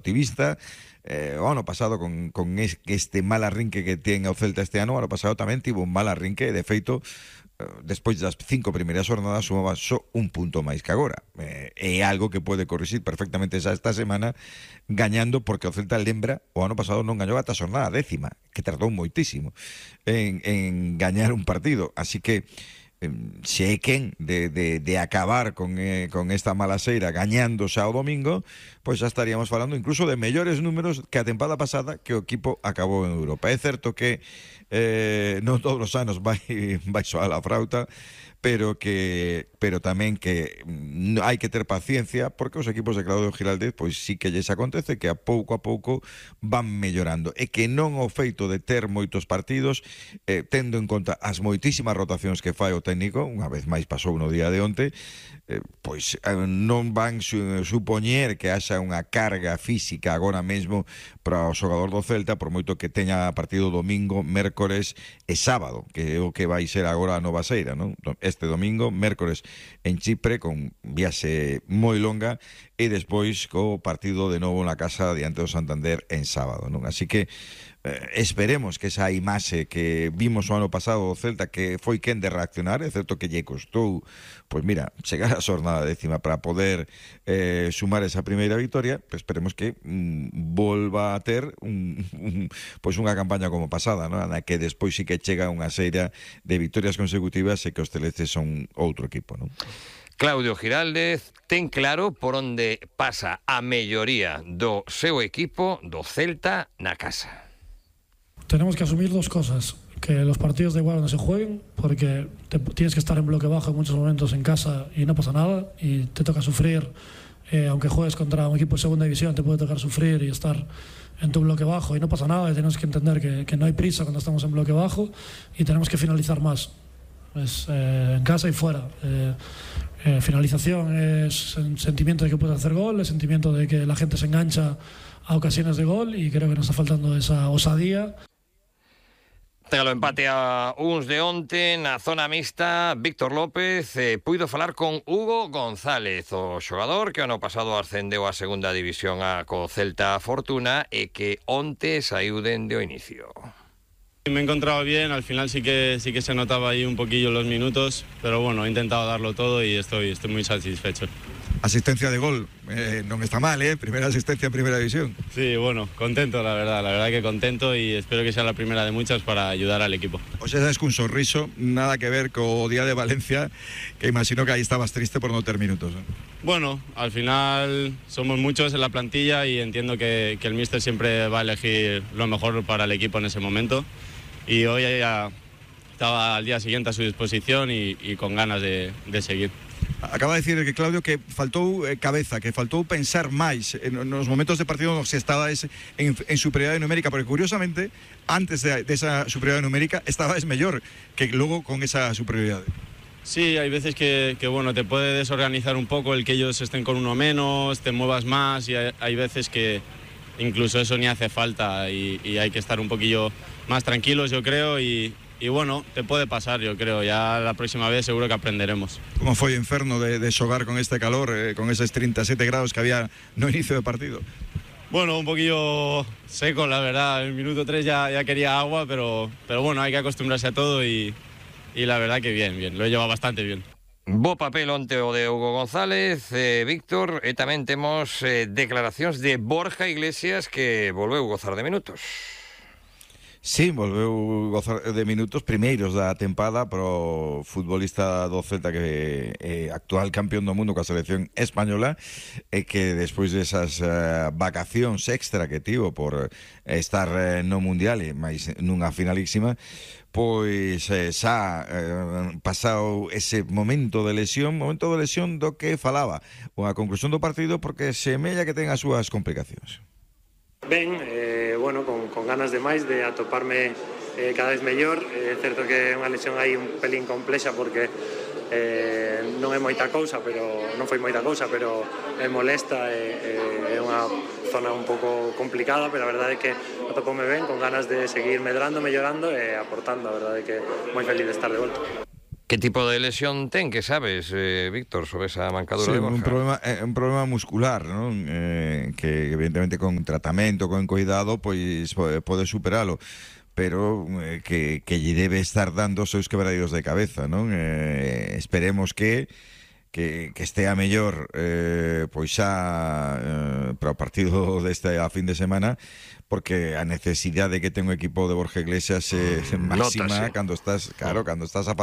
activista. O ano pasado con este mal arrinque que ten o Celta este ano pasado tamén tivo un mal arrinque, de feito despois das 5 primeiras jornadas sumaba só un punto máis que agora. É algo que pode corrixir perfectamente xa esta semana gañando, porque o Celta lembra o ano pasado non gañou ata a xornada 10ª, que tardou moitísimo en gañar un partido, así que se é quen de acabar con esta mala seira gañando xa o domingo, pois xa estaríamos falando incluso de mellores números que a tempada pasada que o equipo acabou en Europa. É certo que non todos os anos vai soar a frauta, pero tamén que hai que ter paciencia, porque os equipos de Claudio Giraldez pois sí que lles acontece que a pouco van mellorando, e que non o feito de ter moitos partidos, tendo en conta as moitísimas rotacións que fai o técnico, unha vez máis pasou no día de onte, pois non van supoñer que haxa unha carga física agora mesmo para o xogador do Celta, por moito que teña partido domingo, mércores e sábado, que é o que vai ser agora a nova seira, non? Este domingo, mércores en Chipre, con viaxe moi longa, e despois co partido de novo na casa diante do Santander en sábado, non? Así que esperemos que esa imaxe que vimos o ano pasado do Celta, que foi quen de reaccionar, é certo que lle costou, pois mira, chegar a xornada 10ª para poder sumar esa primeira victoria, pues esperemos que volva a ter pois unha campaña como pasada, non? Na que despois sí que chega unha seira de victorias consecutivas e que os celestes son outro equipo, non? Claudio Giraldez ten claro por onde pasa a melloría do seu equipo, do Celta, na casa. Tenemos que asumir dos cosas: que los partidos da igual no se jueguen, porque tienes que estar en bloque bajo en muchos momentos en casa y no pasa nada, y te toca sufrir, aunque juegues contra un equipo de segunda división, te puede tocar sufrir y estar en tu bloque bajo y no pasa nada, y tenemos que entender que no hay prisa cuando estamos en bloque bajo y tenemos que finalizar más, en casa y fuera. Finalización es el sentimiento de que puedes hacer gol, el sentimiento de que la gente se engancha a ocasiones de gol, y creo que nos está faltando esa osadía. Tras o empate a uns de onte na zona mixta, Víctor López puido falar con Hugo González, o xogador que ano pasado ascendeu a segunda división a co Celta Fortuna e que onte saiu dende o inicio. Me he encontrado bien, al final sí que se notaba ahí un poquillo los minutos, pero bueno, he intentado darlo todo y estoy muy satisfecho. Asistencia de gol, non está mal, primera asistencia en primera división. Sí, bueno, contento la verdad que contento, y espero que sea la primera de muchas para ayudar al equipo. O sea, es que un sorriso, nada que ver co día de Valencia, que imagino que ahí estabas triste por no ter minutos, ¿no? Bueno, al final somos muchos en la plantilla y entiendo que el míster siempre va a elegir lo mejor para el equipo en ese momento, y hoy ya estaba al día siguiente a su disposición y con ganas de seguir. Acaba de decir que Claudio que faltou cabeza, que faltou pensar máis nos momentos de partido nos que estabas en superioridade numérica, porque curiosamente antes de esa superioridade numérica estabas mellor que logo con esa superioridade. Sí, hay veces que bueno, te puede desorganizar un poco el que ellos estén con uno menos, te muevas más, y hay veces que incluso eso ni hace falta, y hay que estar un poquillo más tranquilos, yo creo, y bueno, te puede pasar, yo creo. Ya la próxima vez seguro que aprenderemos. Como foi o inferno de xogar con este calor, con esos 37 grados que había no inicio de partido? Bueno, un poquillo seco, la verdad. En el minuto 3 ya quería agua, pero bueno, hay que acostumbrarse a todo, y la verdad que bien, lo he llevado bastante bien. Bo papel onte o de Hugo González, Víctor, e tamén temos declaracións de Borja Iglesias, que volveu gozar de minutos. Sí, volveu gozar de minutos primeiros da tempada pro futbolista do Celta, que é actual campeón do mundo coa selección española, e que despois desas vacacións extra que tivo por estar no Mundial e máis nunha finalísima, pois xa pasado ese momento de lesión do que falaba unha conclusión do partido, porque semella que ten as súas complicacións. Ben, bueno, con ganas de máis, de atoparme cada vez mellor. É certo que é unha lesión aí un pelín complexa, porque non é moita cousa, pero non foi moita cousa, pero é molesta, é unha zona un pouco complicada, pero a verdade é que atopoume ben, con ganas de seguir medrando, mellorando e aportando. A verdade é que moi feliz de estar de volta. Que tipo de lesión ten, que sabes, Víctor, sobre esa mancadura Sí, de Borja? un problema muscular, ¿no? Que evidentemente con tratamento, con cuidado, pois pode superalo, pero que lle debe estar dando os seus quebradeiros de cabeza, non? Esperemos que estea mellor pois xa para o partido deste a fin de semana, porque a necesidade que ten o equipo de Borja Iglesias é máxima Nótase. cando estás a